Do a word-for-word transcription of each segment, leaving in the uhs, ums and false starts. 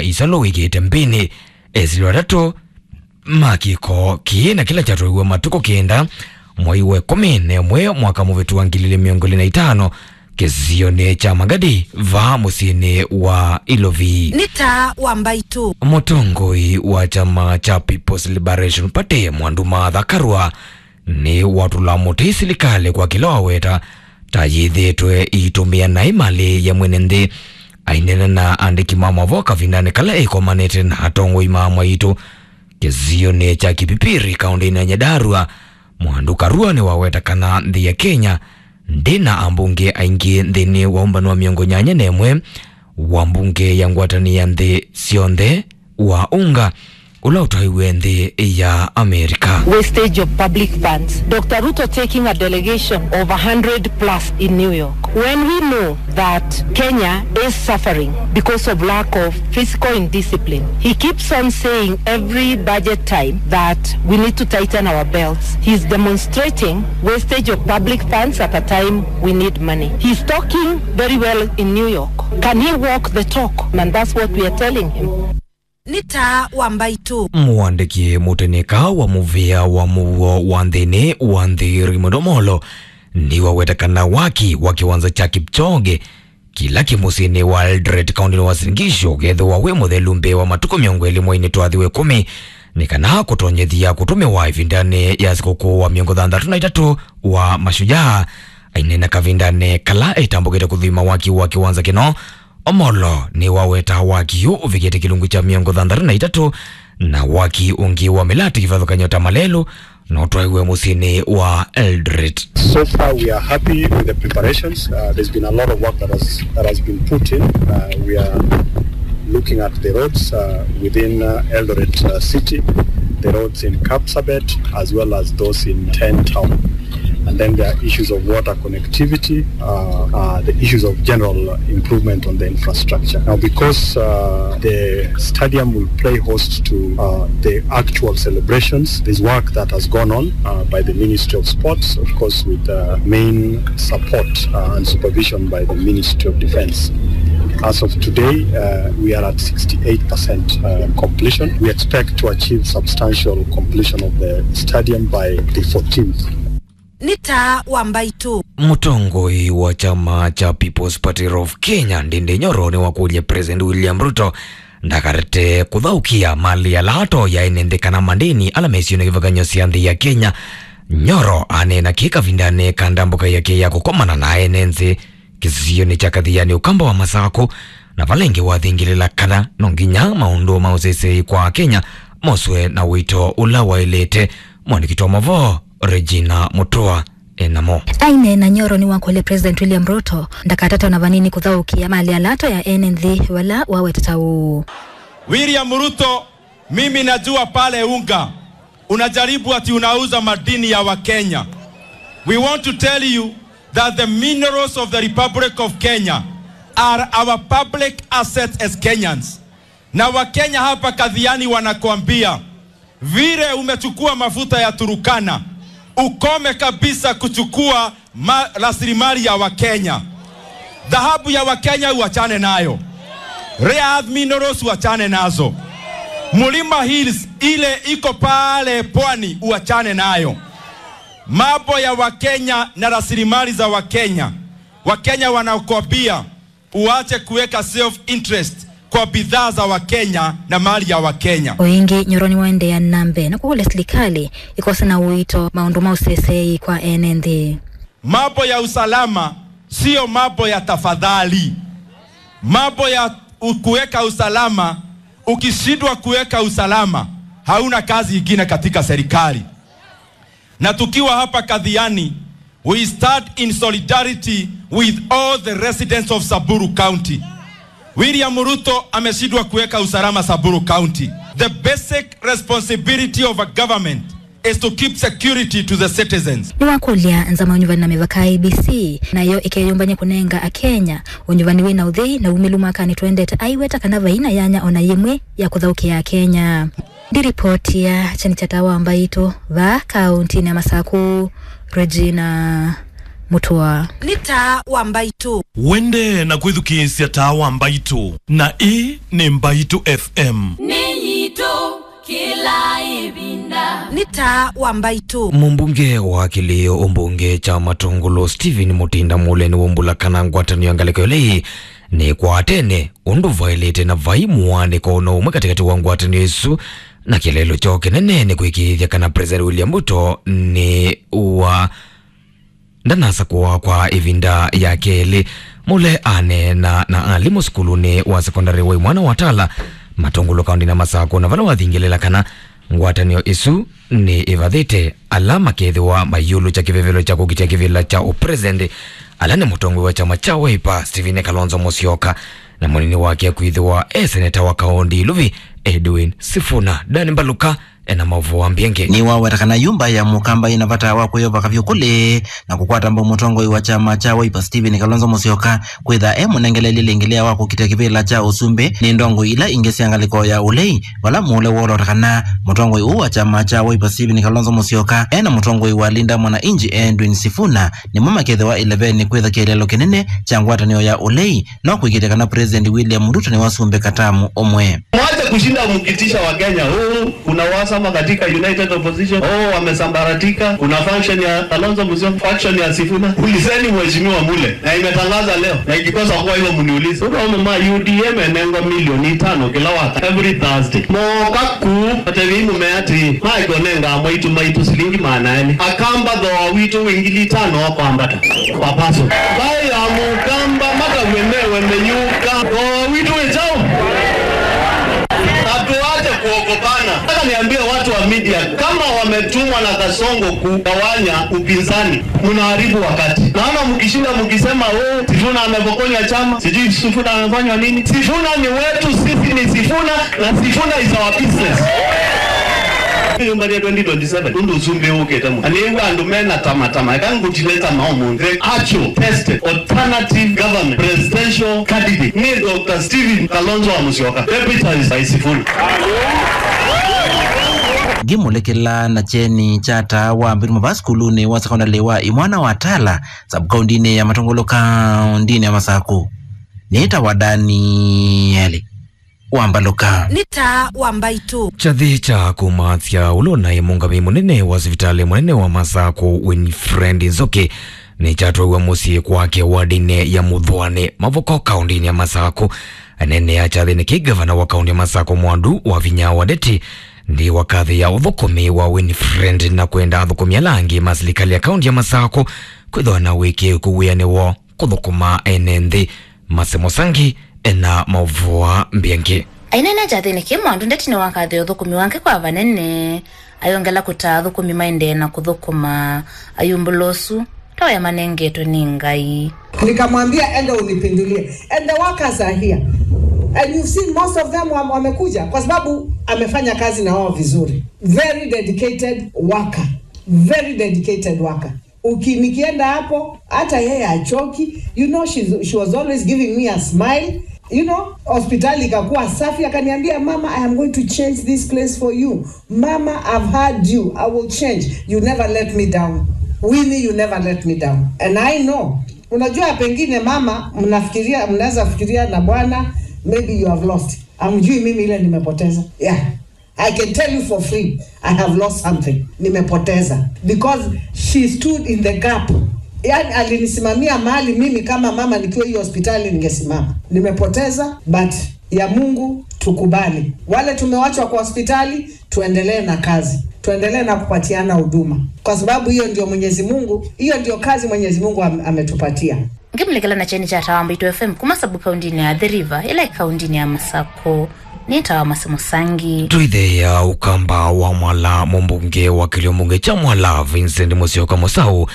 Isalũ wĩkĩte mbĩnĩ, esĩlwe atatũ ma kĩko kĩĩ na kĩla kyatwaiwe matukũ kenda mwai wa ĩkũmi na ĩmwe mwaka mũvĩtu wa ngili ilĩ mĩongo ĩlĩ na itano kĩsionĩ kya Magadi vaa mũsyĩnĩ wa Ilovi. Nĩ taa wa mbaitũ. Mũtongoi wa kyama kya People's Liberation Party, Mwandu Martha Karua, nĩ watũla mũtĩ silikalĩ kwa kĩla waweta ta yĩthĩĩtwe ĩitũmĩa naĩ malĩ ya mwene nthĩ. Aineena na andĩki ma mavoo kavindanĩ kala ĩkomanĩte na atongoi ma mbaitũ kĩsionĩ kya Kipipiri, kaũntĩnĩ ya Nyandarua, Mwandu Karua nĩwaweta kana nthĩ ya Kenya ndĩ na ambunge aingĩ nthĩnĩ wa ũmbano wa mĩongo nyanya na ĩmwe wa mbunge ya ngwatanĩo ya nthĩ syonthe wa UNGA ũla ũtwaiwe nthĩ ya Amerika. Wastage of public funds. Doctor Ruto taking a delegation of a hundred plus in New York. When we know that Kenya is suffering because of lack of fiscal indiscipline, he keeps on saying every budget time that we need to tighten our belts. He's demonstrating wastage of public funds at a time we need money. He's talking very well in New York. Can he walk the talk? And that's what we are telling him. Nĩ taa wa mbaitũ. Mũandĩki mũteneka wa mũvĩa wa mũuo wa nthĩnĩ wa nthĩ, Raymond Omolo, nĩwaweta kana waki wa kĩwanza kya Kipchoge kĩla kĩ mũsyĩnĩ wa Eldoret, kaũntĩnĩ wa Uasin Gishu, ũkethĩwa wĩ mũthelu mbee wa matukũ mĩongo ĩlĩ mweinĩ twathi wa ĩkũmi, nĩ kana kũtonyethya kũtũmĩwa ĩvindanĩ ya sikũkũ wa mĩongo thanthatũ na itatũ wa Mashujaa. Aineena kavindanĩ kala etambũkĩte kũthima waki wa kĩwanza kĩno, Omolo nĩwaweta waki ũũ ũvikĩte kĩlungu kya mĩongo thanthatũ na itatũ, na waki ũngĩ wa mĩlatĩ kĩvathũkany'o ta malelũ nũtwaiwe mũsyĩnĩ wa Eldoret. So far, we are happy with the preparations. Uh, there's been a lot of work that has, that has been put in. Uh, we are looking at the roads, uh, within, uh, Eldoret, uh, city, the roads in Kapsabet, as well as those in Ten Town. And then there are issues of water connectivity, uh, uh, the issues of general improvement on the infrastructure. Now, because, uh, the stadium will play host to, uh, the actual celebrations, there's work that has gone on, uh, by the Ministry of Sports, of course, with, uh, main support, uh, and supervision by the Ministry of Defense. As of today, uh, we are at sixty-eight percent, uh, completion. We expect to achieve substantial completion of the stadium by the fourteenth. Nĩ taa wa mbaitũ. Mũtongoi wa kyama kya People's Party of Kenya, Ndindi Nyoro, nĩwakũlya President William Ruto ndakarete kũthaũkĩa malĩ ala atonya ene nthĩ kana mandĩni ala mesionĩ kĩvathũkany'o sya nthĩ ya Kenya. Nyoro aneena kĩĩ kavindanĩ ka ndambũka yake ya kũkomana na ene nthĩ kĩsionĩ kya Kathiani, Ũkamba wa Masakũ, na vala ĩngĩ wathingĩlĩla kana no nginya maũndũ ma ũseseĩ kwa Akenya moswe na ũito ũla waĩlĩte. Mwandĩki wa mavoo Regina Mutua enamo. Aineena, Nyoro nĩwakũlya President William Ruto ndakatate ona vanini kũthaũkĩa malĩ ala atonya ene nthĩ vala wawetete ũũ. William Ruto, mimi najua pale UNGA unajaribu ati unauza madini ya Wakenya. We want to tell you that the minerals of the Republic of Kenya are our public assets as Kenyans. Na Wakenya hapa Kathiani wanakuambia, vile umechukua mafuta ya Turukana, ukome kabisa kuchukua ma-, rasilimali ya Wakenya. Dhahabu ya Wakenya uachane nayo. Rare earth minerals uachane nazo. Mulima Hills ile iko pale pwani uachane nayo. Mambo ya Wakenya na rasilimali za Wakenya, Wakenya wanakuambia, uache kuweka self interest kwa bidhaa za Wakenya na mali ya Wakenya. O ĩngĩ, Nyoro nĩwaendeea na mbee na kũkũlya silikalĩ ĩkose na ũito maũndũ ma ũseseĩ kwa ene nthĩ. Mambo ya usalama siyo mambo ya tafadhali. Mambo ya u-, kuweka usalama, ukishindwa kuweka usalama, hauna kazi ingine katika serikali. Na tukiwa hapa Kathiani, we stand in solidarity with all the residents of Samburu County. William Ruto ameshindwa kuweka usalama Samburu County. The basic responsibility of a government is to keep security to the citizens. Nĩwakũlya nzama ya ũnyuvani na mĩvaka, I E B C, nayo ĩkeyũmbany'a kũnenga Akenya ũnyuvani wĩ na ũthei na umĩlu mwakanĩ twendete, aiweta kana vai na yanya ona yĩmwe ya kũthaũkĩa Akenya. Ndiripotia kyeni kya taa wa mbaitũ vaa kaũntĩnĩ ya Masakũ, Regina Mũtũa. Nĩ Taa wa Mbaitũ. Wende na kwĩthukĩĩsya Taa wa Mbaitũ, na ĩĩ nĩ Mbaitũ F M. Nĩ yitũ kĩla ĩvinda. Nĩ Taa wa Mbaitũ. Mũmbunge wa kĩlĩo ũmbunge kya Matũngũlũ Stephen Mũtinda Mũle nĩwaumbũla kana ngwatanĩo ya ngalĩko ĩla ĩĩ nĩ kwa tene, ũndũ vaĩlĩte na vai mũaanĩko ona ũmwe katĩkatĩ wa ngwatanĩo ĩsu na kĩeleelo kyoo kĩnene nĩ kũĩkĩĩthya kana President William Ruto nĩ wa ndanasakũwa kwa ĩvinda ya kelĩ. Mũle aneena na alimũ sukulunĩ wa sekondalĩ wa Imwana wa Tala, Matũngũlũ kaũndĩnĩ ya Masakũ, na vala wathingĩlĩla kana ngwatanĩo ĩsu nĩ ĩvathĩte ala makethĩwa maiũlũkya kĩvevelo kya kũkitĩa kĩvĩla kya ũpresident, ala nĩ mũtongoi wa kyama kya Wiper, Stephen Kalonzo Musyoka, na mũnini wake kwĩthĩwa e seneta wa kaũndĩ Iluvi, Edwin Sifuna. Dan Mbaluka ena maũvoo mbiange. Nĩwaweta kana yu mbaĩ ya Mũkamba yĩna vata wa kwĩyova kavyũ kũlĩ na kũkwata mbau mũtongoi wa kyama kya Wiper Stephen Kalonzo Musyoka kwĩtha e mũnengelelye lĩngĩ lĩa wa kũkitĩa kĩvĩla kya ũsumbĩ nĩ ndongoi ila ingĩ sya ngalĩko ya ũlei, vala Mũle wolota kana mũtongoi ũũ wa kyama kya Wiper Stephen Kalonzo Musyoka ena mũtongoi wa Linda Mwananchi Edwin Sifuna nĩmo makethĩwa ĩleveni kwĩtha kĩeleelo kĩnene kya ngwatanĩo ya ũlei, no kũĩkĩĩthya kana President William Ruto nĩwasumbĩka tamu ũmwe. Mwache kushinda mkitisha Wakenya, "Oh, kuna uhasama katika United Opposition. Oh, wamesambaratika. Kuna faction ya Kalonzo Musyoka, faction ya Sifuna." Ulizeni Mheshimiwa Mule, na imetangaza leo, na ikikosa kuwa hivyo mniulize. Ũndũ amwe ma U D M enengwa milioni itano kila waka, every Thursday. Moka kuu, matevi mume ati, "Mike onenga mwaitu maitu silingi maana elĩ." Akamba thooa witũ wĩ ngili itano wa kwambata. Papaso. Mbaĩ ya Mũkamba matavye mewe meyũka. Thooa witũ wĩ kyaũ? Hatuache kuogopana. Nataka niambie watu wa media, kama wametumwa na Kasongo kugawanya upinzani, mnaharibu wakati. Naona mkishinda mkisema, "Oh, Sifuna amepokonya chama, sijui Sifuna amefanywa nini." Sifuna ni wetu, sisi ni Sifuna, na Sifuna is our business. Nyũmba ya twenty twenty-seven, ũndũ ũsumbĩ ũkĩte mũno. Na nĩw'a andũ mena tamatama, eka ngũtinĩta mao mũnthe. Actual, tested, alternative government, presidential candidate, nĩ Doctor Stephen Kalonzo wa Musyoka, deputized by Sifuna. Ngĩmũlĩkĩla na kyeni kya Taa wa Mbaitũ mava sukulunĩ wa sekondalĩ wa Imwana wa Tala, sub-kaũndĩnĩ ya Matũngũlũ, kaũndĩnĩ ya Masakũ. Nĩtawa Danieli wa Mbaluka. Nĩ Taa wa Mbaitũ. Kyathĩ kya kũmaasya ũla ũnaĩ mũũngamĩi mũnene wa sivitalĩ mũnene wa Masakũ, Winfred Nzoki, nĩkyatwaiwe mũsyĩ kwake wardinĩ ya Mũthũanĩ, Mavoko, kaũndĩnĩ ya Masakũ. Aneenea kyathĩnĩ kĩĩ, ngavana wa kaũndĩ ya Masakũ, Mwandu wa Vinya Wandeti, nĩwakathĩĩa ũthũkũmi wa Winfred na kwenda athũkũmi ala angĩ ma silikalĩ ya kaũndĩ ya Masakũ kwĩthĩwa na wĩkĩĩku wĩanĩ woo kũthũkũma ene nthĩ. Mase Mũsangi ena maũvoo mbiange. Aineena kyathĩnĩ kĩĩ, Mwandu Ndeti nĩwakathĩĩa ũthũkũmi wake kwa vanene, ayongela kũtaa athũkũmi maendee na kũthũkũma ayumbũla ũsu ta ũya manengetwe nĩ Ngai. Nikamwambia, "Enda unipindulie." And the workers are here. And you've seen most of them wam-, wamekuja kwa sababu amefanya kazi na wao vizuri. Very dedicated worker. Very dedicated worker. Uki-, nikienda hapo, hata yeye achoki. You know, she's, she was always giving me a smile. You know, hospitali ikakuwa safi, akaniambia, "Mama, I am going to change this place for you. Mama, I've heard you. I will change. You never let me down. Winnie, you never let me down." And I know. Unajua, pengine mama, mnafikiria, mnaweza fikiria na bwana, maybe you have lost. Hamjui mimi ile nimepoteza. Yeah. I can tell you for free, I have lost something. Nimepoteza. Because she stood in the gap. Yaani, alinisimamia mahali mimi kama mama nikiwa hiyo hospitali ningesimama. Nimepoteza, but ya Mungu tukubali. Wale tumewachwa kwa hospitali, tuendelee na kazi. Tuendelee na kupatiana huduma. Kwa sababu hiyo ndio Mwenyezi Mungu, hiyo ndio kazi Mwenyezi Mungu am-, ametupatia. Ngĩmũlĩkĩla na kyeni kya Taa wa Mbaitũ F M kuma sub-kaũndĩnĩ ya Athi River, ĩla ĩ kaũndĩnĩ ya Masakũ, nĩtawa Mase Mũsangi. Tũitheea Ũkamba wa Mwala, mũmbunge wa kĩlio mbunge kya Mwala, Vincent Mũsyoka Mũsaũ,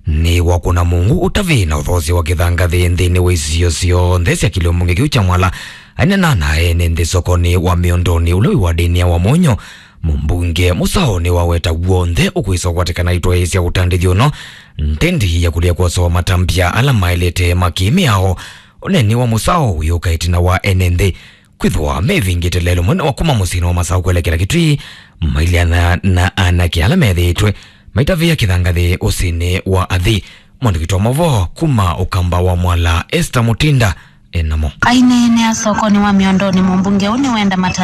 nĩwakũna mũngũ ũtavĩ na ũthoosya wa kĩthangathĩ nthĩnĩ wa isio syonthe sya kĩlio mbunge kĩu kya Mwala. Aineena na ene nthĩ sokonĩ wa Mĩondonĩ ũla wĩ wardinĩ ya Wamonyo, mũmbunge Mũsaũ nĩwaweta w'onthe ũkwĩsa ũkwatĩkana itwaĩĩsya ũtandĩthyo ũno, ntendi ya kũlea kwosoa matambya ala maĩlĩte ma kĩ-mĩao. Ũneeni wa Mũsaũ wĩũka ĩtina wa ene nthĩ kwĩthĩwa mevingĩte lelũ mũnene wa kuma mũsyĩnĩ wa Masaũ kwelekela Kitui, mailyana na anake ala methĩĩtwe maitavĩa kĩthangathĩ ũsĩnĩ wa Athi. Mwandĩki wa maũvoo kuma Ũkamba wa Mwala, Esther Mutinda, enamo. Aineenea sokoni wa Miondoni, mũmbunge ũũ nĩwenda mata